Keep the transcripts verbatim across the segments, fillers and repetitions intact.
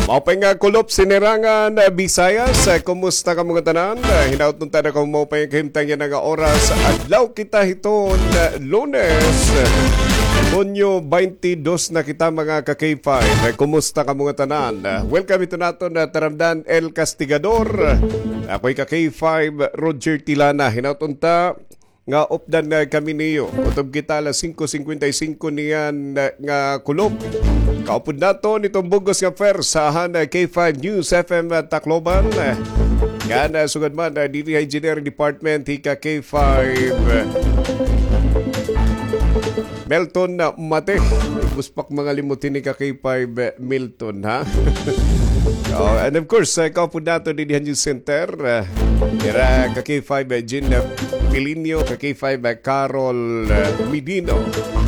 Maupay nga kulop, Sinirangan, eh, Visayas. Eh, kumusta kamo ngatanan? Eh, hinaot unta na kamo maupay nga kahimtang yana nga oras. Adlaw kita hiton, eh, Lunes, eh, Hunyo twenty-two na kita, mga ka-K five. Eh, kumusta kamo ngatanan? Eh, welcome hiton aton, eh, taramdan, El Castigador. Ako hi ka-K five, Roger Tilana. Hinaot unta nga updan na kami niyo. Kutob kita alas singko singkwenta y singko niyan, eh, nga kulop. Kaupod naton iton bug-os nga pwersa han, eh, K five News F M, eh, Tacloban. Eh, ngan, eh, sugad man, eh, diri ha Engineering Department, hi ka-K five, eh, Melton, eh, Mate. Buspak mga limot hini ka-K five, eh, Milton, ha? Oh, and of course, eh, kaupod naton didi ha News Center, eh, ira ka-K five, eh, Jean, eh, Pilinio, ka-K five, eh, Carol, eh, Medino.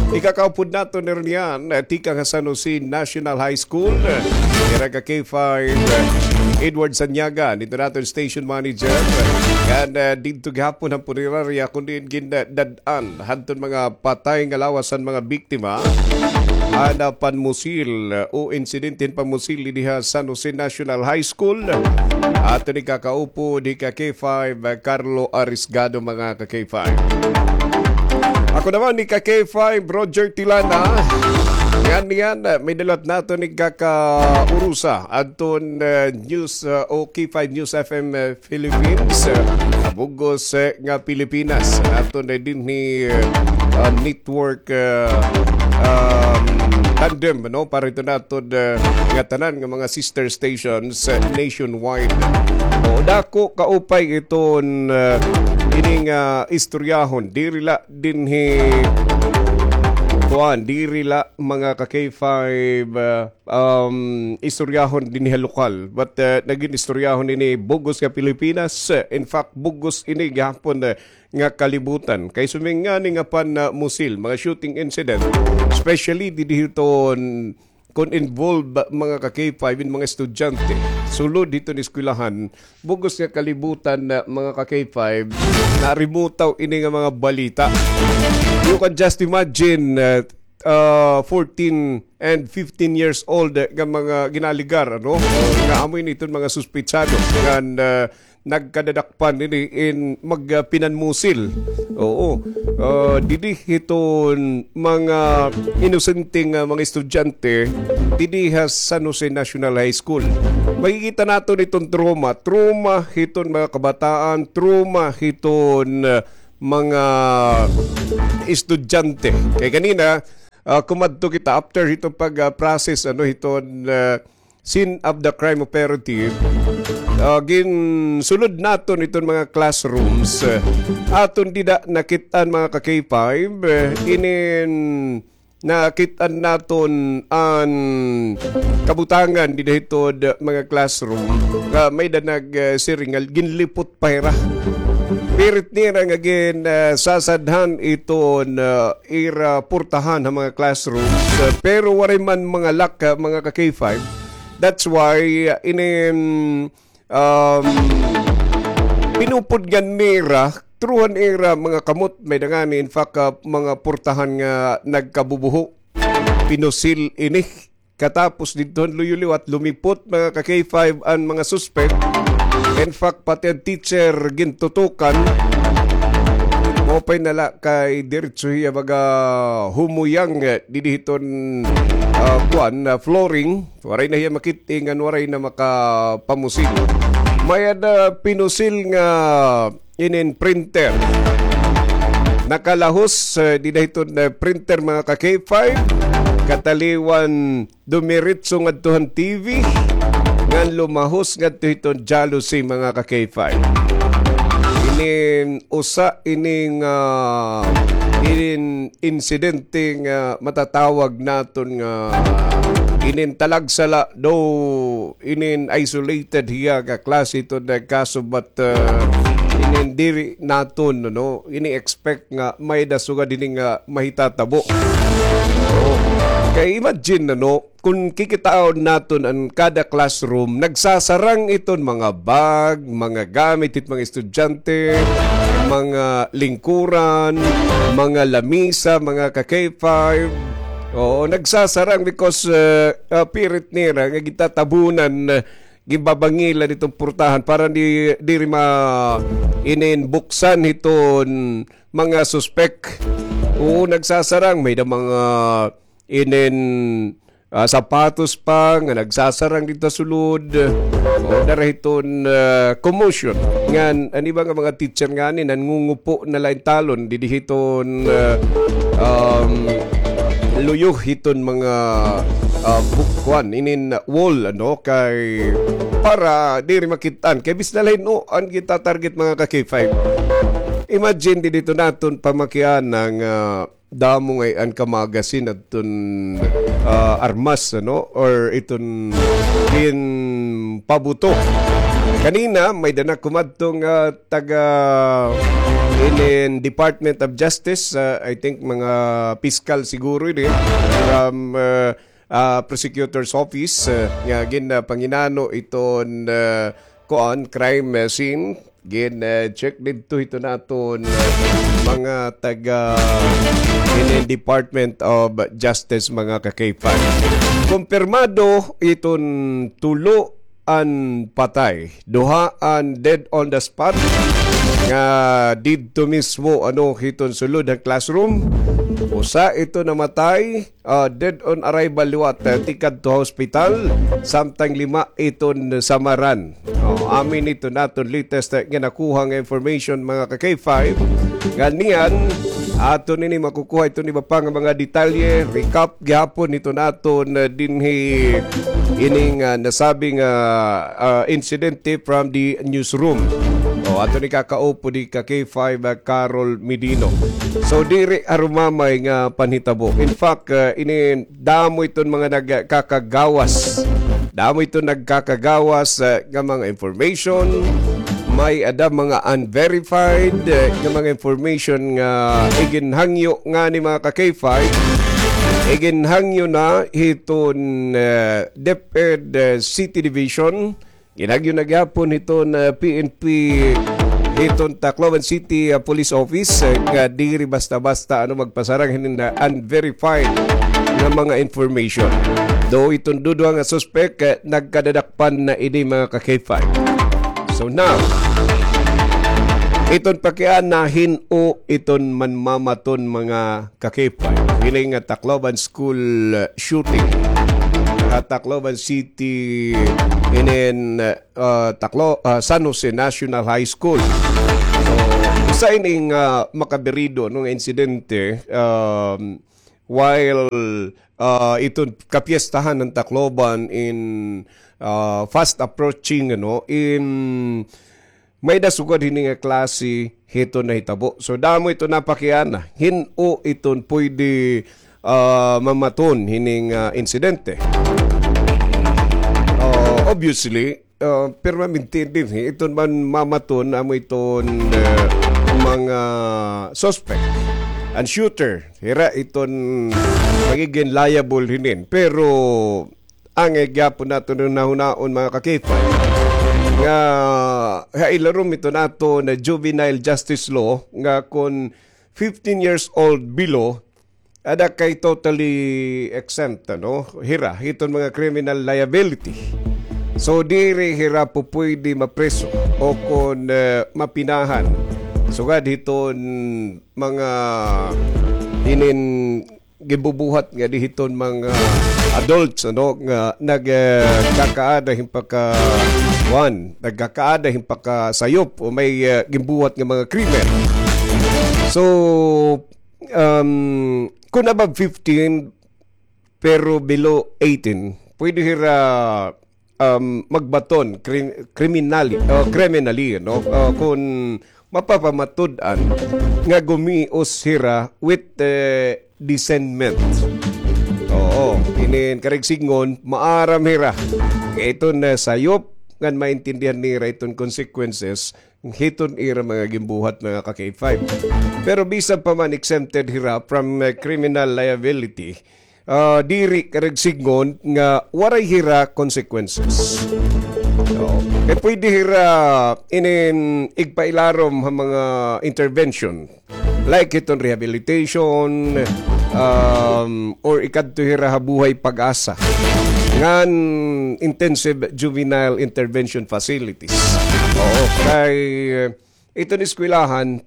Ikakaupod naton niyan, eh, tikang ha San Jose National High School, eh, ira ka-K five, eh, Edward Sanyaga, didto naton station manager. Ngan, eh, didto gihapon han punerarya kun diin gindad-an hadton mga patay nga lawas han mga biktima han, ah, panmusil, ah, o insidente hin panmusil didi ha San Jose National High School. Aton ikakaupod hi ka-K five, ah, Carlo Arisgado, mga ka-K five. Ako naman hi ka-K five, Roger Tilana. Ngan niyan, ah, may dalat naton ikakaurusa adton, ah, news, ah, o K five News F M, ah, Philippines, ah, bug-os, eh, nga Pilipinas. Aton na dinhi, eh, ah, network, eh, um, tandem, no? Para ito naton, eh, nga tanan nga mga sister stations, eh, nationwide. O, dako kaupay iton, eh, ining, ah, istoryahon. Diri la dinhi, kuan, diri la mga ka-K five, eh, um, istoryahon dinhi ha lokal. But, uh, nagin istoryahon ini bug-os nga Pilipinas. Uh, in fact, bug-os ini gihapon, uh, nga kalibutan. Kay sumingani nga pan, uh, musil, mga shooting incident, especially didi hiton kun involved ba, mga ka-K five, in mga estudyante, sulod hiton eskwelahan, bug-os nga kalibutan na mga ka-K five, narimutaw ini nga mga balita. You can just imagine, uh, uh, fourteen and fifteen years old, eh, nga mga ginaligar, ano? Nga amo ini iton mga suspetsado ngan, uh, nagkadadakpan ini in mag, uh, pinanmusil. Oo. Uh, didi hiton mga inosenteng, uh, mga estudyante didi ha San Jose National High School. Makikita naton iton trauma, trauma hiton mga kabataan, trauma hiton, uh, mga estudyante. Kay kanina, ah, kumadto kita after hiton pag, ah, process, ano, hiton, ah, scene of the crime operative, ah, ginsulod naton iton mga classrooms. Ah, aton dida nakit-an, mga ka-K five, eh, inin nakit-an naton an kabutangan dida hiton mga classroom nga may-ada nag, eh, siring nga ginlipot pa hira. Pirit nira nga gin, eh, sasadhan iton, eh, ira purtahan ha mga classrooms, eh, pero waray man mga lock, eh, mga ka-K five. That's why, eh, inin um, pinupudngan nira, through han ira mga kamot, may-ada ngani, in fact, ah, mga purtahan nga nagkabubuho. Pinusil ini. Katapos didto han luyo-liwat, lumipot, mga ka-K five, an mga suspect. In fact, pati an teacher gintutukan. Maupay na la kay diretso hiya baga humuyang, eh, didi hiton, ah, kuan, ah, flooring. Waray na hiya makit-i ngan waray na makapamusil. May-ada pinusil nga inin printer. Nakalahos, eh, dida hiton, eh, printer, mga ka-K five. Kataliwan dumiretso ngadto han T V. Ngan lumahos ngadto hiton jalousie, mga ka-K five. Inin usa ini nga, ah, inin insidente nga matatawag naton nga inin talagsa la, though inin isolated hiya nga klase iton nga kaso, but, uh, inin diri naton, no, ini-expect nga may-ada sugad hini nga mahitatabo. Oo. Kay imagine, no, kun kikitaon naton an kada classroom, nagsasarang iton mga bag, mga gamit hit mga estudyante, mga lingkuran, mga lamisa, mga ka-K five. Oo, nagsasarang because, uh, uh, pirit nira nga gitatabunan, uh, ginbabangilan iton purtahan para di, diri ma ininbuksan hiton mga suspek. Oo, nagsasarang. May da mga inin, ah, sapatos pa nga nagsasarang didto ha sulod. O, dara hiton, ah, commotion. Ngan, an iba nga mga teacher ngani, nangungupo na la hin talon didi hiton, ah, um, luyo hiton mga, ah, bukwan, inin wall, ano, kay para diri makit-an. Kay bis na la hin-o an gitatarget, mga ka-K five. Imagine, didi hiton aton pamakiana nga damo ngay-an ka magasin adton, ah, armas, ano, or iton ginpabuto. Kanina, may-ada na kumadto nga taga inin Department of Justice, ah, I think mga piskal siguro ini, from, ah, ah, prosecutor's office, ah, nga gin, ah, panginano iton, ah, kuan, crime, ah, scene. Gin, ah, check didto hiton aton, ah, mga taga inin Department of Justice, mga ka-K five. Kumpirmado iton tulo an patay. Duha an dead on the spot nga didto mismo, ano, hiton sulod han classroom. Usa iton namatay, ah, dead on arrival liwat, ah, tikadto ha hospital, samtang lima iton samaran. Oh, amin iton aton latest, ah, nga nakuha nga information, mga ka-K five. Ngan niyan, aton ini makukuha iton iba pa nga mga detalye, recap gihapon iton aton, ah, dinhi ining, ah, nasabing, ah, ah, insidente from the newsroom. O, aton ikakaupod hi ka-K five, ah, Carol Medino. So, diri harumamay nga panhitabo. In fact, ah, ini damo iton mga nagkakagawas. Damo iton nagkakagawas, ah, nga mga information. May-ada mga unverified, ah, nga mga information nga iginhangyo ngani, mga ka-K five. Iginhangyo na hiton, ah, DepEd, ah, City Division. Ginhangyo na gihapon hiton, ah, P N P, hiton Tacloban City, ah, Police Office, ah, nga diri basta-basta, ano, magpasarang hinin, ah, unverified nga mga information. Though iton duduha nga suspek, ah, nagkadadakpan na ini, mga ka-K five. So now, iton pakiana, hin-o iton manmamaton, mga ka-K five, hini nga Tacloban School, uh, shooting ha Tacloban City, inin, uh, Taclo-, uh, San Jose National High School. So, usa ining, uh, makabirido, no, nga insidente, um, while, uh, iton kapiestahan han Tacloban in, uh, fast approaching, ano, in may-ada sugad hini nga klase hiton nahitabo. So, damo iton napakiana. Hin-o iton pwede, ah, mamaton hini nga insidente. Ah, obviously, ah, pirmamente dinhi, iton man mamaton amo iton, ah, mga suspect. An shooter, hira iton magigin liable hinin. Pero, angay gihapon naton nga hunahunaon, mga ka-K five, nga ha ilarom iton aton juvenile justice law nga kon fifteen years old below, ada kay totally exempt, ano, hira, hiton mga criminal liability. So, diri hira pupwede mapreso o kon, eh, mapinahan. Sugad hiton mga hinin ginbubuhat nga di hiton mga adults, ano, nga nag, eh, kakaada hin paka-, kuan, nagkakaada hin pakasayop o may, eh, ginbuhat nga mga krimen. So, um, kun above fifteen, pero below eighteen, pwede hira um, magbaton kri-, criminally, o criminally, no? O, kun mapapamatud-an nga gumios hira with, eh, discernment. Oo, inin karuyag sidngon, maaram hira nga iton, eh, sayop ngan maintindihan nira iton consequences hiton ira mga ginbuhat, mga ka-K five. Pero bisan pa man exempted hira from, eh, criminal liability, ah, diri karuyag sidngon nga waray hira consequences. Oo. Kay pwede hira inin igpailarom ha mga intervention. Like hiton rehabilitation, um, or ikadto hira ha Buhay Pag-asa ngan intensive juvenile intervention facilities. Oo, kay iton eskwelahan,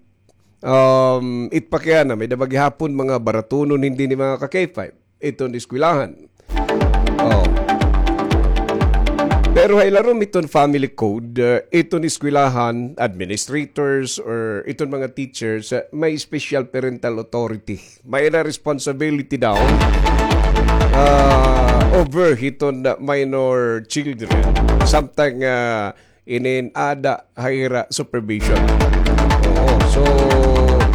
um, it pakiana, may-ada ba gihapon mga baratunon hin dinhi mga ka-K five. Iton eskwelahan. Oh. Pero ha ilarom hiton family code, uh, iton eskwelahan, administrators, or iton mga teachers, uh, may special parental authority. May-ada responsibility daw, uh, over hiton, uh, minor children. Samtang, uh, inin ada ha ira supervision. Oo, so,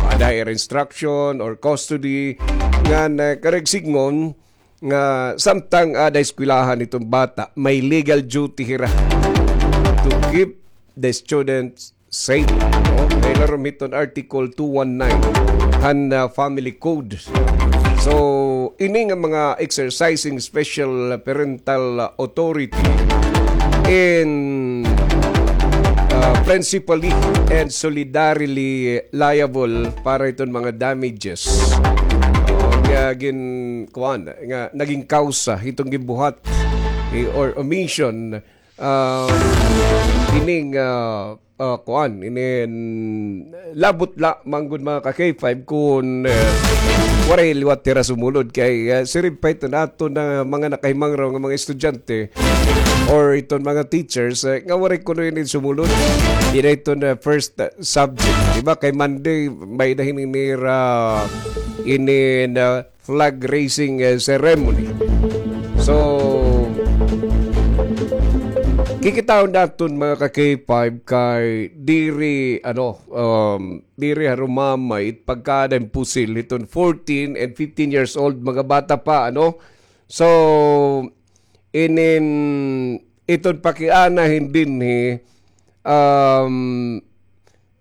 ada ha ira instruction or custody, ngan, uh, karuyag sidngon nga samtang ada ha eskwelahan iton bata, may legal duty hira to keep the students safe. No? Kay larom hiton Article two one nine han, uh, Family Code. So, ini nga mga exercising special parental authority in, uh, principally and solidarily liable para iton mga damages, uh, nga gin-, kuan, nga naging kausa hiton ginbuhat, eh, or omission, uh, ining, uh, ah, kuan, inin labot la man gud mga ka-K five kun, eh, waray liwat hira sumulod kay, eh, siring pa iton aton mga nakahimangraw nga mga estudyante or iton mga teachers, eh, nga waray kuno inin sumulod. Diri iton, eh, first, eh, subject. Di ba kay Monday, may-ada hini nira inin, ah, flag raising, eh, ceremony. So, kikitaon naton, mga ka-K five, kay diri, ano, um, diri harumamay it pagkada hin pusil hiton fourteen and fifteen years old, mga bata pa, ano. So, inin, iton pakiana hin dinhi, um,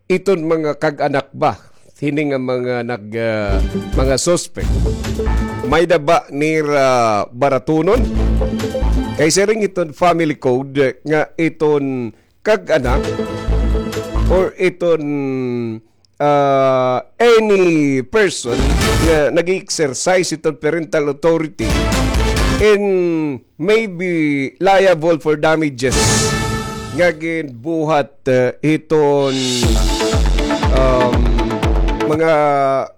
iton mga kag-anak ba hini nga mga nag, ah, mga suspect, may-ada ba nira baratunon? Kay siring iton family code nga iton kag-anak or iton, ah, any person nga nag-exercise iton parental authority in may be liable for damages nga ginbuhat, eh, hiton, um, mga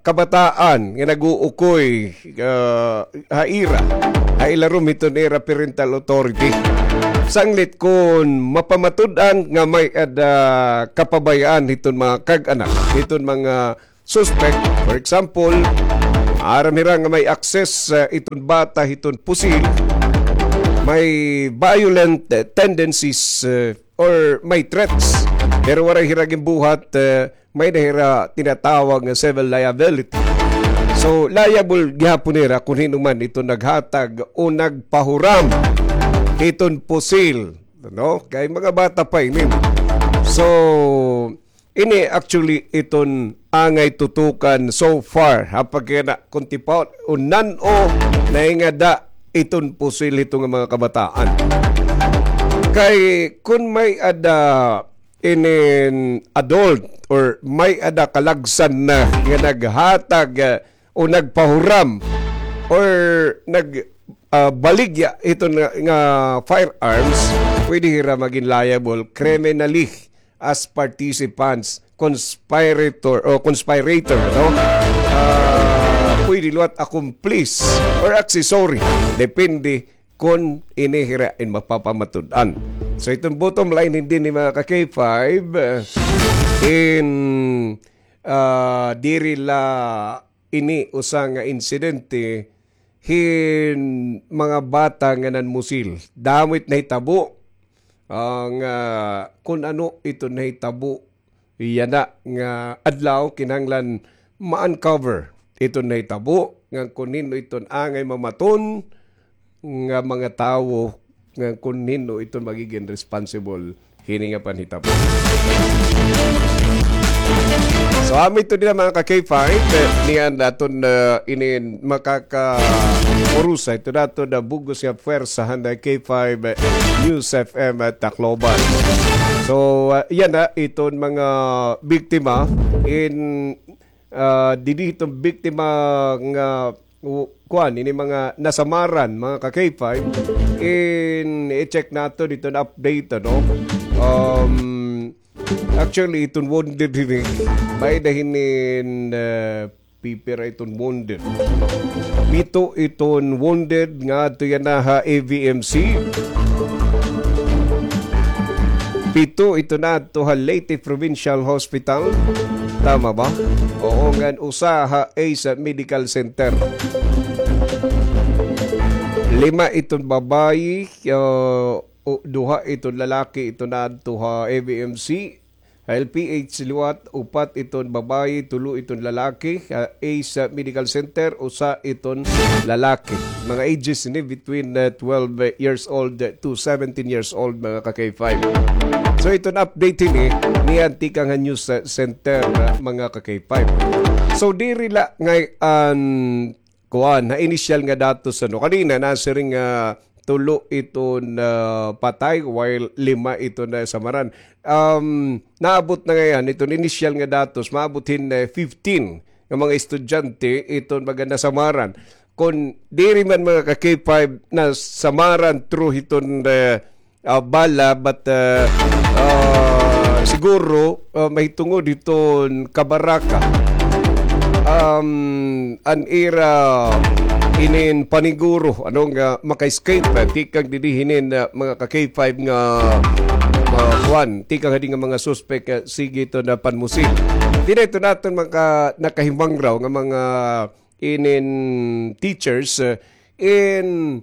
kabataan nga nag-uukoy, ah, ha ira, ha ilarom hiton ira parental authority. Sanglit kun mapamatud-an nga may-ada kapabayaan hiton mga kag-anak, hiton mga suspect, for example, aram hira nga may access, uh, iton bata hiton pusil, may violent, uh, tendencies, uh, or may threats, pero waray hira ginbuhat, uh, may-ada hira tinatawag nga civil liability. So, liable gihapon hira kun hin-o man iton naghatag o nagpahuram hiton pusil, no? Kay mga bata pa ini. So, ini actually iton angay tutukan so far, ha, pagkana kun tipaon, o nan-o nahingada iton pusil hito nga mga kabataan. Kay kun may-ada inin adult or may-ada kalagsan na nga naghatag, ah, o nagpahuram or nag, ah, baligya hito nga, nga firearms, pwede hira maging liable criminally as participants, conspirator, o conspirator, no? Ah, pwede liwat accomplice or accessory. Depende kun ini hira in mapapamatud-an. So, iton bottom line hin dinhi mga ka-K five, eh, in, ah, diri la ini usa nga insidente hin mga bata nga nanmusil. Damo it nahitabo, ah, nga kun ano ito nahitabo yana nga adlaw, kinahanglan ma-uncover iton nahitabo, ngan kun hin-o iton angay mamaton nga mga tawo, ngan kun hin-o iton magigin responsible hini nga panhitabo. So, amo ito dida, mga ka-K five, eh, niyan aton, eh, inin makaka-, urusa ito naton na bug-os nga pwersa han K five, eh, News F M, eh, Tacloban. So, ah, yana, iton mga biktima in, ah, didi iton biktima nga u-, kuan, ini mga nasamaran, mga ka-K five, in i-check naton iton update, ano? Um, actually, iton wounded ini, may-ada hinin, uh, pipira iton wounded. Pito iton wounded nga adto yana ha A V M C. Pito iton adto ha Leyte Provincial Hospital. Tama ba? Oo, ngan usa ha Ace Medical Center. Lima iton babayi, uh, o, duha iton lalaki iton adto ha A V M C. Ha L P H liwat, upat iton babayi, tulo iton lalaki. Ha Ace Medical Center, usa iton lalaki. Mga ages ini between, uh, twelve years old to seventeen years old, mga ka-K five. So, iton update ini, niyan tikang ha news, uh, center, uh, mga ka-K five. So, diri la ngay-an kuan, ha initial nga datos, ano, kanina nasiring nga tulo iton, ah, patay, while lima iton nasamaran. Um, naabot na ngay-an iton initial nga datos, maabot hin, eh, fifteen nga mga estudyante iton mga nasamaran. Kon diri man mga ka-K five nasamaran through hiton, eh, ah, bala, but, ah, ah, siguro, ah, mahitungod hiton kabaraka. Um, an ira inin paniguro, ano, nga maka-escape, ah, tikang dinhi hinin, ah, mga ka-K five nga, ah, kuan, tikang hadi nga mga suspek, ah, sige iton panmusil. Diri iton aton mga nakahimangraw nga mga inin teachers, ah, in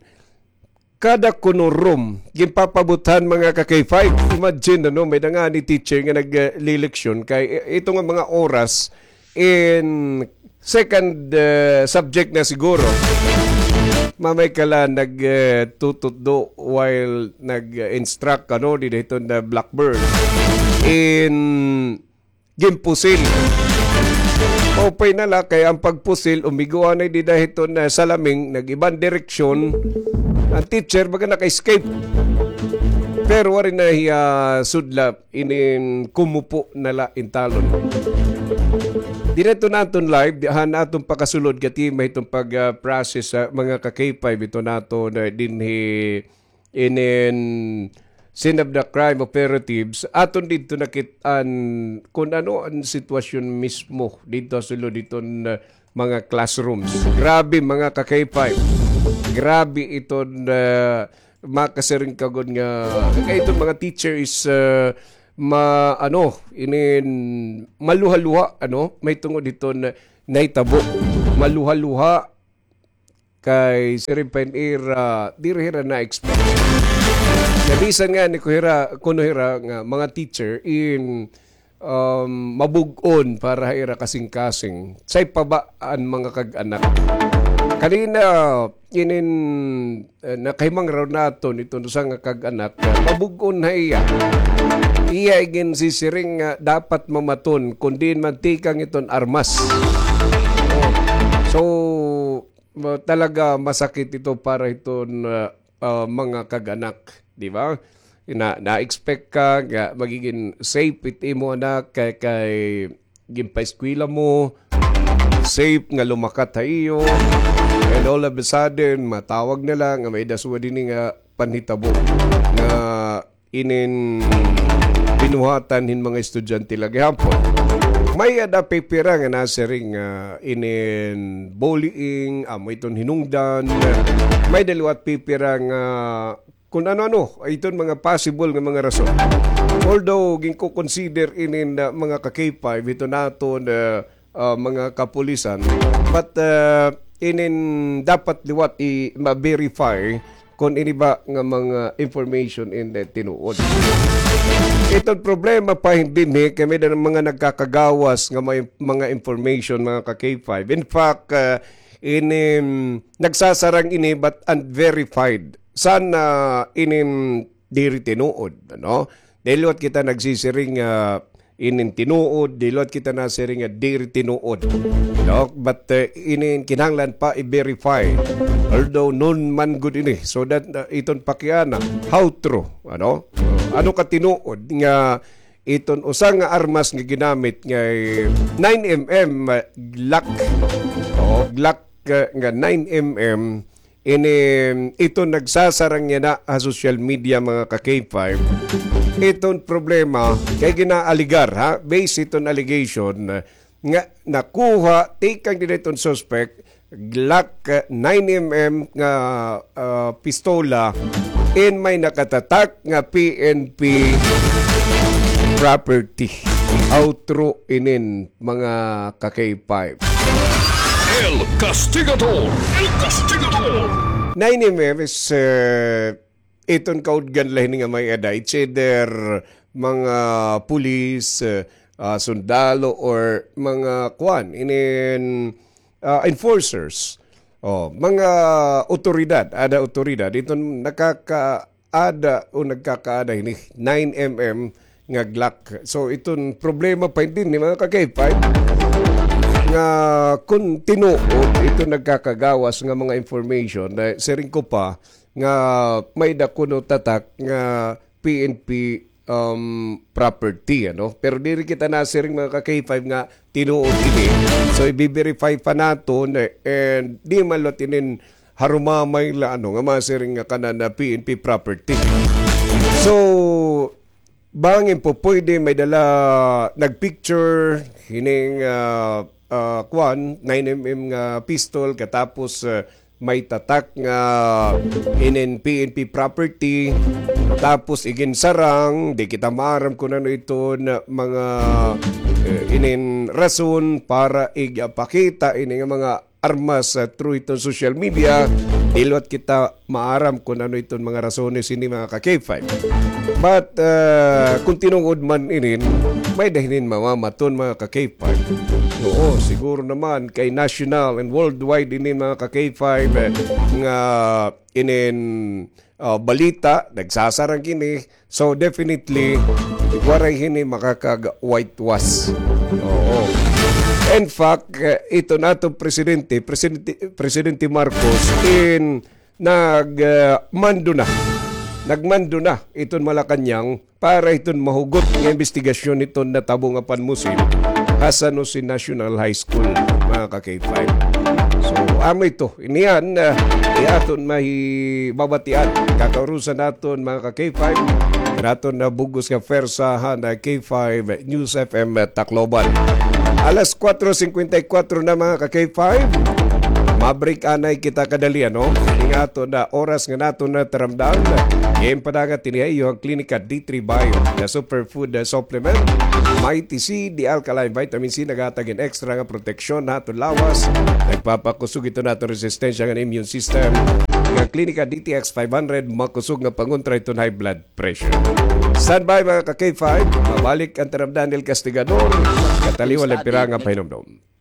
kada kuno room, ginpapabuthan mga ka-K five. Imagine, ano, may-ada ngani teacher nga nagleleksyon kay i-, ito nga mga oras in second, eh, subject na siguro. Mamay ka la nag, eh, tututdo while nag-instruct, ano, dida hiton blackboard. In ginpusil. Maupay na la kay an pagpusil, umigo anay dida hiton, ah, salaming, nag-iban direksyon. An teacher, baga naka-escape. Pero waray na hiya sudla, inin kumupo na la in talon. Dida iton aton live, di, han aton pakasulod, katima hiton pag, ah, process, ah, mga ka-K five, iton aton, ah, dinhi inin scene of the crime operatives, aton didto nakit-an kun ano an sitwasyon mismo didto ha sulod hiton, uh, mga classrooms. Grabe, mga ka-K five. Grabe iton, uh, makasiring ka gud nga, kay iton mga teacher is, uh, ma-, ano, inin maluha-luha, ano, mahitungod hiton nahitabo. Maluha-luha, kay siring pa hin ira, diri hira na-expect. Kay bisan ngani kuno hira, kuno hira nga mga teacher in, um, mabug-on para ha ira kasingkasing. Say pa ba an mga kag-anak? Kanina, inin, eh, nakahimangraw naton iton usa nga kag-anak, eh, mabug-on ha iya. Iya iginsisiring nga dapat mamaton kun diin man tikang iton armas. Oh. So, ma-, talaga masakit ito para hiton, ah, ah, mga kag-anak, di ba? Na, na-expect ka nga magigin safe it imo anak kay, kay ginpaeskwela mo, safe nga lumakat ha iyo, and all of a sudden, matawag na la nga may-ada sugad hini nga panhitabo nga inin binuhatan hin mga estudyante la gihapon. May-ada pipira nga nasiring nga inin bullying, amo iton hinungdan. May-ada liwat pipira nga kun ano-ano, iton mga possible nga mga rason. Although, ginko-consider inin, ah, mga ka-K five, iton aton, ah, ah, mga kapulisan. But, ah, inin dapat liwat i-, ma-verify kon ini ba nga mga information in the tinuod. Iton problema pa hin dinhi kay may-ada mga nagkakagawas nga may mga information, mga ka-K five. In fact, ah, inin nagsasarang ini but unverified. San, ah, inin diri tinuod, ano? Diri liwat kita nagsisiring nga inin tinuod, diri liwat kita nasiring nga diri tinuod. No? But, eh, inin kinahanglan pa i-verify. Although known man gud ini, so that, uh, iton pakiana, how true, ano? Ano ka tinuod nga iton usa nga armas nga ginamit nga nine M M Glock. O, Glock nga, nga nine M M, ini, ito nagsasarang yana ha social media, mga ka-K five. Iton problema, kay ginaaligar, ha? Based iton allegation, nga nakuha, tikang dida iton suspect, Glock, uh, nine M M nga, uh, pistola, in may nakatatak nga P N P property. How true inin, mga ka-K five? El Castigador! El Castigador! Nine M M is, uh, iton kaudgan la hini nga may-ada. It's either mga pulis, uh, uh, sundalo, or mga kwan, inin, uh, enforcers. Oh, mga otoridad, ada otoridad. Iton nakakaada o nagkakaada hini nine M M nga Glock. So, iton problema pa hini, mga ka-K five, nga kon tinuod iton nagkakagawas nga mga information, eh, siring ko pa nga may-ada kuno tatak nga P N P, um, property, ano? Pero diri kita nasiring, mga ka-K five, nga tinuod ini. So, ibi-verify pa naton, eh, and di man la tinin harumamay la, ano, nga masiring nga kanan na P N P property. So, bangin po pwede may dala nagpicture hining, ah, ah, kwan, nine M M nga pistol, katapos, ah, may tatak nga inin P N P property, tapos iginsarang, di kita maaram kung ano iton mga, eh, inin rason para igpakita ini nga mga armas, ah, through iton social media. Di liwat kita maaram kung ano iton mga rasones ini, mga ka-K five. But, ah, kung tinuod man inin, may-ada hinin mamamaton, mga ka-K five. Oo, siguro naman kay national and worldwide inin, mga ka-K five, eh, nga inin, ah, balita, nagsasarang kini. So, definitely, waray hini makakag-whitewash. Oo. In fact, eh, ito nato presidente, Presidente, Presidente Marcos, in nag, ah, mando na. Nagmando na iton Malacañang para iton mahugot nga imbestigasyon iton natabo nga panmusim ha San Jose National High School, mga ka-K five. So, amo ito. Iniyan, ah, iya aton mahibabatian. Kakaurusan naton, mga ka-K five. Naton na bug-os nga pwersa han K five News F M Tacloban. Alas kuwatro singkwenta y kuwatro na, mga ka-K five. Mabreak anay kita kadali, ano? Ini nga aton na oras nga naton na taramdan. Ginpadangat ini ha iyo han Klinika D three Bio, the superfood, uh, supplement. Mighty C, the alkaline vitamin C, naghatag hin extra nga proteksyon ha aton lawas. Nagpapakusog ito naton resistensya ngan immune system. Nga Klinika D T X five hundred, makusog nga pangontra iton high blood pressure. Standby, mga ka-K five. Mabalik an taramdan ni El Castigador. Kataliwan la pira nga pahinumdom.